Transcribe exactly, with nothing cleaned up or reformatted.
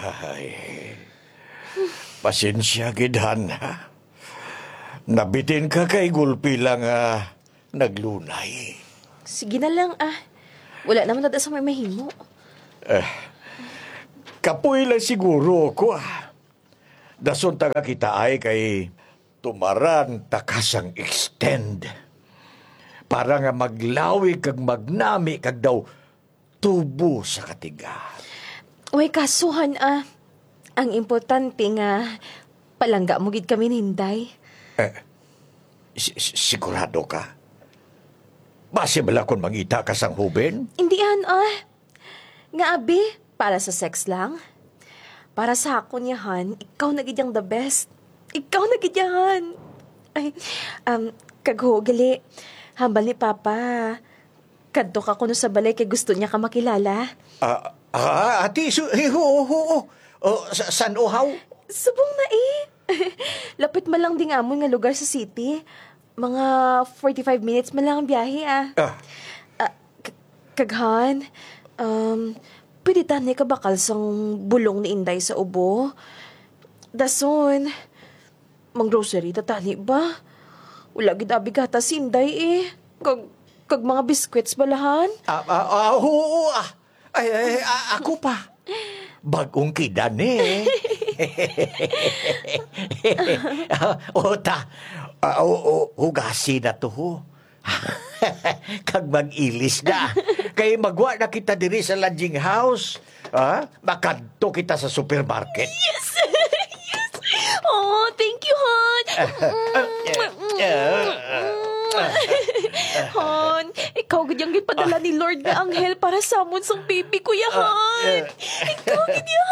Ay, pasensya gid, Han, ha? Nabitin ka kay gulpi lang, ah, naglunay. Sige na lang, ah. Wala naman na sa may mahimo. Eh, kapoy lang siguro ako, ah. Dason ta nga kita ay kay tumaran ta ka sang extend. Para nga maglawig kag magnami kag daw tubo sa katiga. Way kasuhan, ah. Ang importante nga palangga mo gid kami ni Inday. Eh, si- si- sigurado ka? Basi bala kung mangita ka sang hubin? Hindi, Han, ah. Nga abi, para sa sex lang? Para sa akon, ya, Han, ikaw na gid ang the best. Ikaw na gid, ya, Han. Ay, um, kag ho, gali, hambal ni Papa, kadto ka kuno sa balay kay gusto niya ka makilala. Ah, ah, ati, su- eh, oo, oo. Oh, sa- san uhaw? Subong na eh. Lapit man lang ding amon nga lugar sa city. Mga forty-five minutes man lang ang biyahe, ah. Ah. Ah, k- kag Han, um, pwede tani ka bakal sang bulong ni Inday sa ubo? Dason, mang-grocery ta tani ba? Wala gid abi gatas si Inday eh. Kag, kag mga biskwits bala, Han? Ah, ah, ah, oo, ah. Ay, ay, a- ako pa. Bagong kida ni. Ah, o ta. Ah, o, o, hugasi na to, ho. Kag mag-ilis na. Kay magwa na kita diri sa lodging house. Ah, makadto kita sa supermarket. Yes! Yes! Oh, thank you, Han. Han, ikaw gid ang gipadala ni Lord nga anghel para sa amon sang baby ko, ya, Han. Ikaw gid, ya,